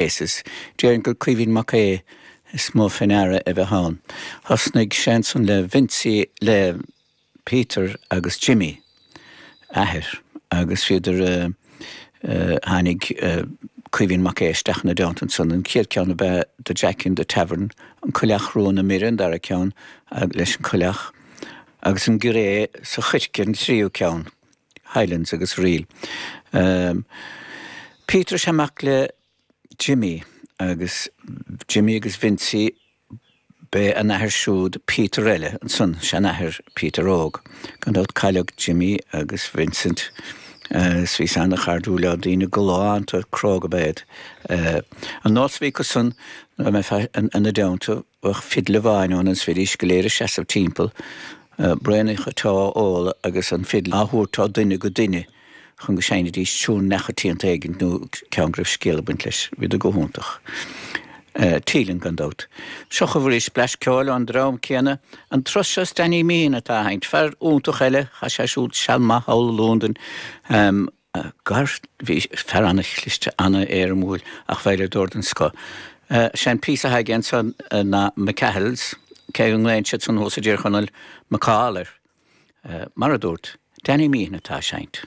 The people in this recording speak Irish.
Faces. Déarfainn gur Caoimhín Mac Aodha is mó fé ndeara a bheith ann. Thosnaigh sé ansan le Vincie, le Peter agus Jimmy, athair, agus bhíodar, tháinig Caoimhín Mac Aodha isteach ina dteannta ansan. An chéad ceann ab ea The Jack in the Tavern, An Coileach Rua na Mire an dara ceann leis an coileach, agus An Ghiré sa Choirce an tríú ceann, Highlands agus Reel. Peter is ea mac le Jimmy agus Jimmy agus Vincie B'é a n-athair siúd Peter eile ansan, seanathair Peter Óg. Gan dabht cailleadh Jimmy agus Vincent agus bhíos ana-chairdiúil leo, daoine galánta cróga ab ea iad. An nós a bhí acu san nuair a mbeifeá ina dteannta, bheadh fidil amháin ann agus bhídís go léir ag seasamh timpeall, braonacha te á ól agus an fidil á thabhairt ó dhuine go duine. chun go seinnfidís tiún neamhchoitianta éigin nó ceann go raibh scéal ag baint leis. Bhíodar go hiontach. Teeling, gan dabht. Seo chugaibh arís blais ceoil ón dream céanna. An turas seo is Danny Meehan atá á sheinnt. Fear iontach eile, chaith sé siúd seal maith thall i Londain. Gar, bhí fear an-chliste, an-éirimiúil ach veidhleadóir den scoth. Sé an píosa atá aige ansan ná McCahill's, cé go nglaonn siad san thuas i dTír Chonaill McCall air. Mar a dúrt, Danny Meehan atá á seinnt.